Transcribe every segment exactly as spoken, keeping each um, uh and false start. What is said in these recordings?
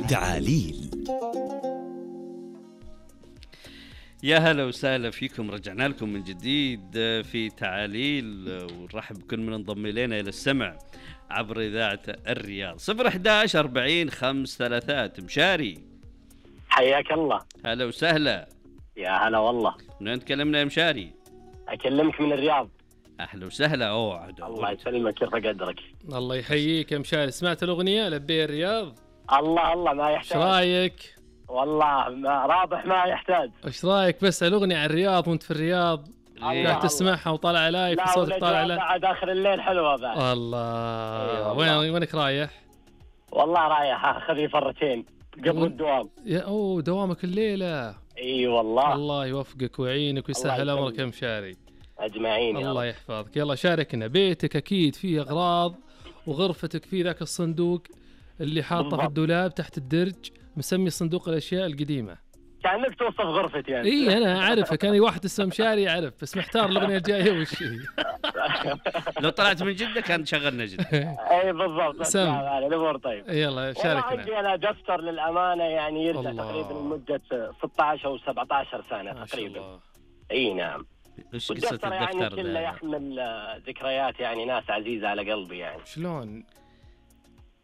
تعاليل. يا هلا وسهلا فيكم، رجعنا لكم من جديد في تعاليل، ونرحب بكل من انضم إلينا إلى السمع عبر إذاعة الرياض. صفر إحداش أربعين خمس ثلاثات. مشاري حياك الله. هلا وسهلا. يا هلا والله. من وين تكلمنا يا مشاري؟ أكلمك من الرياض. أهلا وسهلا. أوه الله يسلمك، كيف قدرك؟ الله يحييك يا مشاري. سمعت الأغنية لبي الرياض؟ الله الله ما يحتاج. ايش رايك؟ والله ما رابح ما يحتاج. ايش رايك بس الأغنية عن الرياض وانت في الرياض قاعد تسمعها وطالع لايف وصوتك طالع لايف بعد آخر الليل حلوة بعد. الله. وين وينك رايح؟ والله رايح اخذ فرتين قبل الدوام. يا اوه دوامك الليلة. اي والله. الله يوفقك ويعينك ويسهل امرك يا مشاري. اجمعين. الله يحفظك. يلا شاركنا. بيتك اكيد فيه اغراض وغرفتك فيه ذاك الصندوق اللي حاطه في الدولاب تحت الدرج مسمي صندوق الاشياء القديمه. كانك توصف غرفتي يعني. اي انا اعرفها، كان لي واحد اسمه مشاري يعرف، بس محتار الاغنيه الجايه وش هي. لو طلعت من جده كان شغلنا جده. اي بالضبط. سم الامور طيب. يلا شاركنا. عندي انا دفتر للامانه يعني يرجع تقريبا لمده ستة عشر او سبعة عشر سنه تقريبا. اي نعم. ايش قصه الدفتر يعني كله يحمل ذكريات يعني ناس عزيزه على قلبي يعني. شلون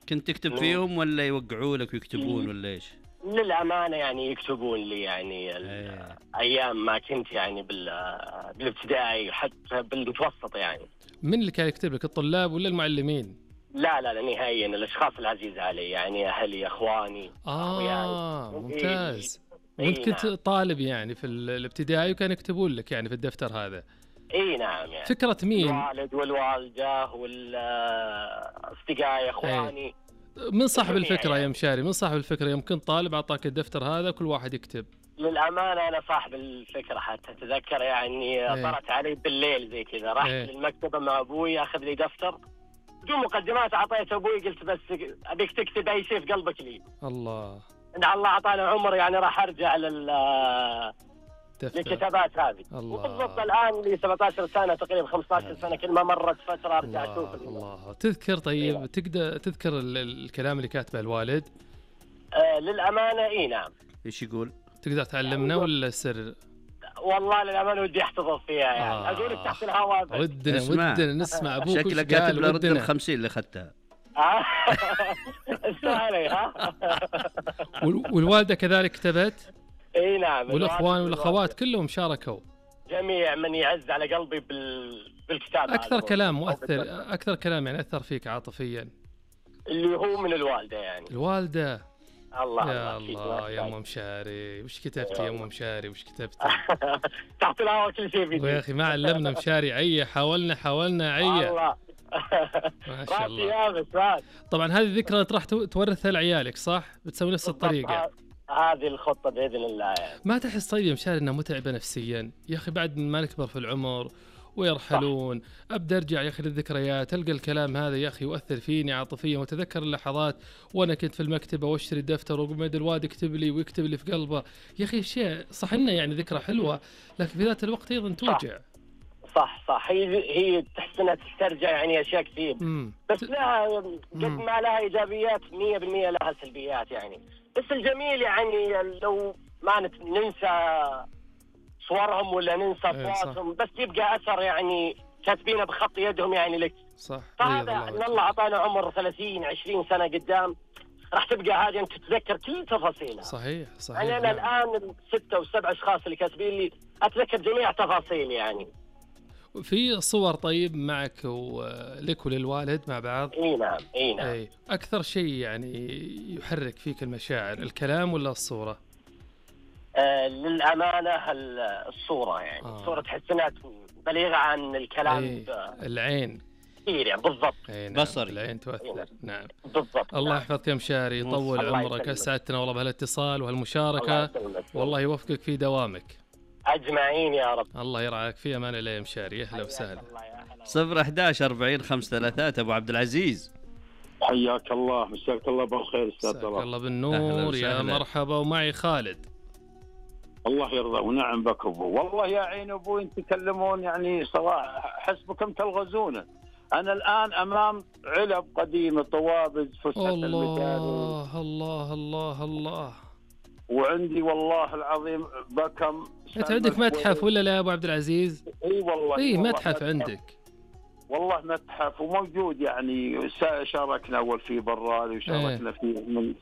كنت تكتب فيهم ولا يوقعوا لك ويكتبون ولا ايش؟ للأمانة يعني يكتبون لي يعني أيه. أيام ما كنت يعني بالابتدائي حتى بالمتوسط يعني. من اللي كان يكتب لك، الطلاب ولا المعلمين؟ لا لا لا نهائيا الأشخاص العزيزة علي يعني أهلي أخواني. آه ممتاز. وانت كنت نعم. طالب يعني في الابتدائي وكان يكتبون لك يعني في الدفتر هذا؟ اي نعم. يعني فكرة مين؟ الوالد والوالدة والأصدقائي أخواني. أيه. من صاحب الفكرة يا مشاري؟ من صاحب الفكرة يوم كنت طالب أعطاك الدفتر هذا كل واحد يكتب؟ للأمانة أنا صاحب الفكرة حتى أتذكر يعني طرت علي بالليل زي كذا رحت ايه. للمكتبة مع أبوي أخذ لي دفتر بدون مقدمات أعطيت أبوي قلت بس أبيك تكتب أي شيء في قلبك لي. الله. إن الله أعطانا عمر يعني راح أرجع لل للكتابات هذه. وبالضبط الآن لي سبعة عشر سنة تقريبا خمسة عشر سنة كل ما مرت فترة أرجع أشوف. الله. تذكر طيب أيوة. تقدر تذكر الكلام اللي كاتبه الوالد؟ آه للأمانة إيه نعم. إيش يقول؟ تقدر تعلمنا ولا سر؟ والله للأمانة ودي أحتفظ فيها يعني. آه. أقولك تحت الهواء. ودنا ودنا نسمع أبوك. شكلك كاتب لرد الخمسين اللي أخذتها. استاهلي ها. والوالدة كذلك كتبت؟ اي نعم. والاخوان والاخوات كلهم شاركوا. جميع من يعز على قلبي بال... بالكتابة. اكثر كلام مؤثر، اكثر كلام يعني اثر فيك عاطفيا اللي هو من الوالدة يعني. الوالدة. الله يا الله يا ام مشاري وش كتبتي يا ام مشاري وش كتبتي؟ تحت الهواء كل شيء فيدي. يا اخي ما علمنا مشاري عيه، حاولنا حاولنا عيه. الله. ما شاء الله. طبعا هذه ذكرى راح تورثها لعيالك صح؟ بتسوي نفس الطريقة. هذه الخطة بإذن الله يعني. ما تحس طيب يا مشاري انها متعبة نفسيا يا اخي بعد ما نكبر في العمر ويرحلون صح. ابدا ارجع يا اخي للذكريات القى الكلام هذا يا اخي يؤثر فيني عاطفيا وتذكر اللحظات وانا كنت في المكتبة واشتري الدفتر وقمد الواد يكتب لي ويكتب لي في قلبه يا اخي شيء صح انه يعني ذكرى حلوة لكن في ذات الوقت ايضا توجع. صح صح هي هي تحس انها تسترجع يعني اشياء كثير بس لها قد ما لها ايجابيات مية بالمية لها سلبيات يعني. بس الجميل يعني لو ما ننسى صورهم ولا ننسى اصواتهم بس يبقى اثر يعني كاتبينه بخط يدهم يعني لك. صح. فهذا ان الله اعطانا عمر ثلاثين عشرين سنة قدام راح تبقى هذه انت تتذكر كل تفاصيلها. صحيح صحيح. يعني انا الان الستة والسبع اشخاص اللي كاتبين لي اتذكر جميع تفاصيل يعني. في صور طيب معك ولك وللوالد مع بعض؟ اي نعم اي نعم. أي. اكثر شيء يعني يحرك فيك المشاعر الكلام ولا الصورة؟ آه للأمانة الصورة يعني. آه. الصورة تحس انها بليغة عن الكلام. أي. العين كثير يعني بالضبط. نعم. بصري العين تؤثر. نعم. نعم بالضبط. الله يحفظك يا مشاري يطول عمرك اسعدتنا والله بهالاتصال وهالمشاركة والله يوفقك في دوامك. أجمعين يا رب. الله يرعاك في أمان الله يا مشاري. أهلا وسهلا. صفر إحداش أربعين خمس ثلاثات. أبو عبد العزيز حياك الله مساك الله بالخير أستاذ طلال. الله بالنور يا مرحبا. ومعي خالد. الله يرضى ونعم بك أبو. والله يا عين أبوي أنت تكلمون يعني صراحة حسبكم تلغزونه. أنا الآن أمام علب قديمة، طوابز، فسحة المدارس. الله الله الله الله. وعندي والله العظيم بكم. أنت عندك متحف ولا لا أبو عبد العزيز؟ إي والله. إي والله متحف, متحف عندك. والله متحف وموجود يعني، شاركنا أول فيه برالي وشاركنا ايه. فيه من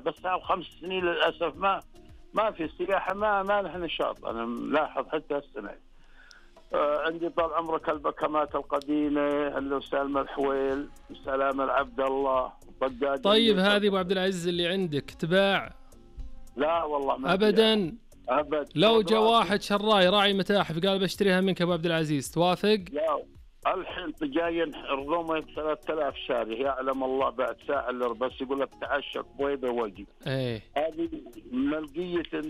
بس خمس سنين للأسف ما ما في السياحة، ما ما نحن نشاط. أنا ملاحظ حتى السنة. آه عندي طال عمرك البكمات القديمة، هلو سالم الحويل، سلام العبد الله، طقاد. طيب هذه أبو عبد العزيز اللي عندك تباع؟ لا والله ما أبدا أبد. لو جاء واحد شراي راعي متاحف قال بشتريها منك أبو عبد العزيز توافق؟ لا الحين جايين رضومة ثلاثة آلاف شاري، يعلم الله بعد ساعة اللي بس يقول لك تعشق بيضة وجه. ايه هذه ملقية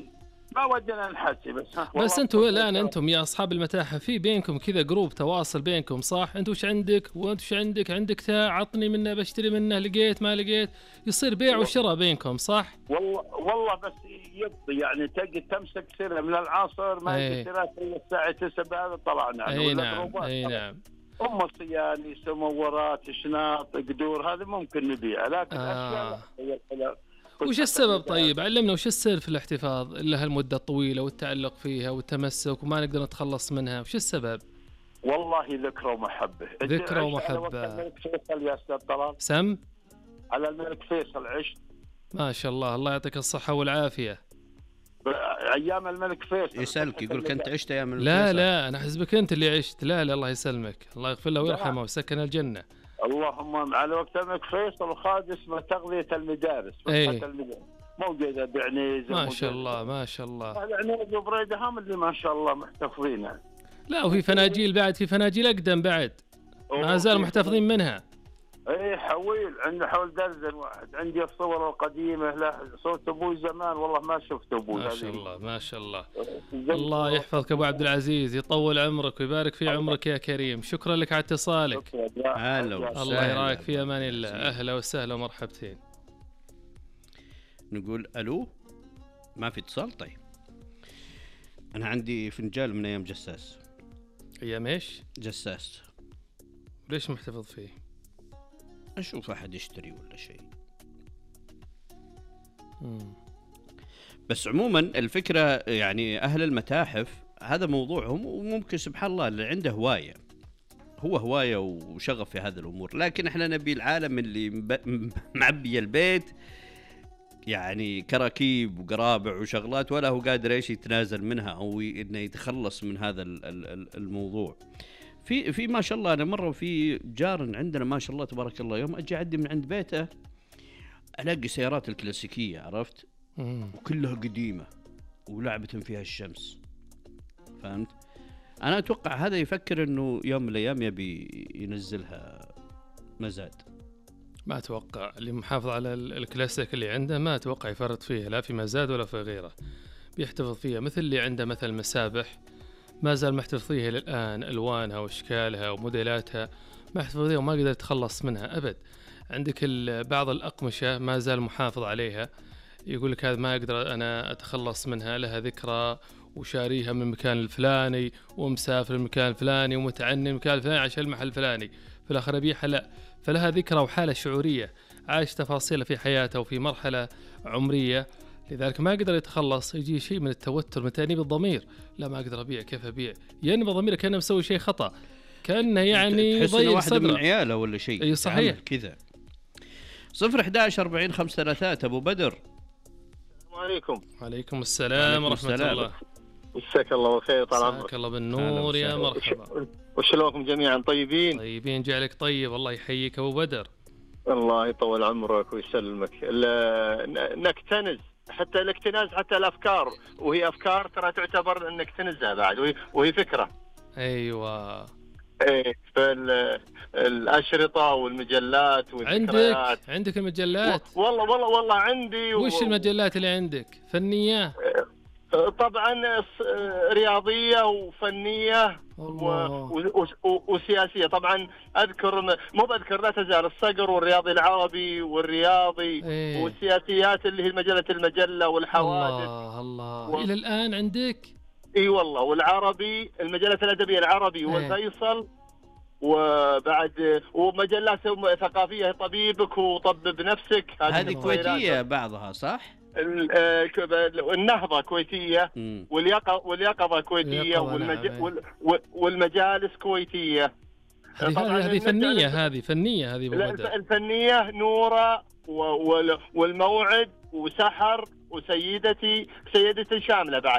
ما ودنا نحكي بس. بس انتم الان انتم يا اصحاب المتاحف في بينكم كذا جروب تواصل بينكم صح؟ انت وش عندك وانت وش عندك؟ عندك تاع عطني منه بشتري منه، لقيت ما لقيت يصير بيع وشراء بينكم صح؟ والله والله بس يبطي يعني تجي تمسك سنة من العصر ما ايه. تشتري الا الساعة تسعة بعد طلعنا. اي نعم اي نعم. أم صياني، سمورات، شناط، قدور، هذا ممكن نبيعها لكن آه. أشياء. وش السبب طيب؟ علمنا وش السر في الاحتفاظ لها المدة الطويلة والتعلق فيها والتمسك وما نقدر نتخلص منها؟ وش السبب؟ والله ذكرى ومحبة. ذكرى ومحبة. على الملك فيصل يا أستاذ طلال. سم؟ على الملك فيصل عشت. ما شاء الله، الله يعطيك الصحة والعافية. ايام الملك فيصل يسألك يقول كنت عشت ايام الملك لا فيصل. لا انا حسبك انت اللي عشت. لا لا الله يسلمك، الله يغفر له ويرحمه وسكن الجنة. اللهم. على وقت الملك فيصل وخاد اسمه تغذية المدارس. ايه. المدارس موجودة بعنيزة. ما شاء الله ما شاء الله. هذا عنيزة وبريدة هم اللي ما شاء الله محتفظين. لا وفي فناجيل بعد، في فناجيل اقدم بعد ما زال محتفظين منها. ايه حويل عندنا حول درزن واحد. عندي الصور القديمه، لا صوت ابوي زمان والله ما شفت ابوي. ما شاء الله ما شاء الله. الله يحفظك ابو عبد العزيز، يطول عمرك ويبارك في عمرك يا كريم. شكرا لك على اتصالك. هلا الله يراك في امان الله. اهلا وسهلا ومرحبتين. نقول الو. ما في اتصال. طيب انا عندي فنجال من ايام جساس. ايام ايش؟ جساس. ليش محتفظ فيه؟ أشوف أحد يشتري ولا شيء. مم. بس عموما الفكرة يعني أهل المتاحف هذا موضوعهم، وممكن سبحان الله اللي عنده هواية، هو هواية وشغف في هذه الأمور، لكن إحنا نبي العالم اللي معبي البيت يعني كراكيب وقرابع وشغلات ولا هو قادر إيش يتنازل منها أو إنه يتخلص من هذا الموضوع. في في ما شاء الله أنا مرة في جار عندنا ما شاء الله تبارك الله، يوم أجي أعدي من عند بيته ألاقي سيارات الكلاسيكية عرفت، وكلها قديمة ولعبة فيها الشمس. فهمت؟ أنا أتوقع هذا يفكر إنه يوم من الأيام يبي ينزلها مزاد. ما أتوقع اللي محافظ على الكلاسيك اللي عنده ما أتوقع يفرط فيها لا في مزاد ولا في غيره، بيحتفظ فيها. مثل اللي عنده مثل مسابح ما زال محتفظ فيها للآن، ألوانها وأشكالها وموديلاتها محتفظ فيها وما قدر يتخلص منها أبد. عندك بعض الأقمشة ما زال محافظ عليها، يقول لك هذا ما أقدر أنا أتخلص منها، لها ذكرى وشاريها من المكان الفلاني ومسافر المكان الفلاني ومتعني المكان الفلاني عشان المحل الفلاني، في الآخر أبيعها لا، فلها ذكرى وحالة شعورية، عايش تفاصيلها في حياته وفي مرحلة عمرية، لذلك ما قدر يتخلص. يجي شيء من التوتر من تأنيب الضمير، لا ما أقدر أبيع، كيف أبيع؟ يأنب ضميره كأنه مسوي شيء خطأ، كأنه يعني يضيع واحد من عياله ولا شيء. أي صحيح كذا. صفر إحداش أربعين خمسة ثلاثات. أبو بدر. السلام عليكم. وعليكم السلام ورحمة الله. مساك الله بالخير طال عمرك. مساك الله بالنور يا مرحبا. وشلونكم جميعا؟ طيبين؟ طيبين جعلك طيب، الله يحييك أبو بدر. الله يطول عمرك ويسلمك. نكتنز حتى الاكتناز حتى الأفكار، وهي أفكار ترى تعتبر أنك تنزها بعد، وهي, وهي فكرة. أيوة. ايه فالأشرطة والمجلات والذكريات. عندك عندك المجلات؟ والله والله والله عندي. وش و... المجلات اللي عندك؟ فنية؟ طبعا رياضية وفنية و... و... و... وسياسية. طبعا أذكر مو بأذكر لا تزال الصقر والرياضي العربي والرياضي ايه. والسياسيات اللي هي مجلة المجلة والحوادث. الله الله و... إلى الآن عندك؟ اي والله. والعربي المجلة الأدبية العربي والفيصل وبعد ومجلات ثقافيه طبيبك وطبب نفسك، هذه كويتيه بعضها صح؟ النهضه كويتيه، واليقظه واليقظه كويتيه، والمج... والمجالس كويتيه. هذه هذه فنيه، هذه فنيه هذه الفنيه نوره والموعد وسحر وسيدتي سيدتي شامله بعد.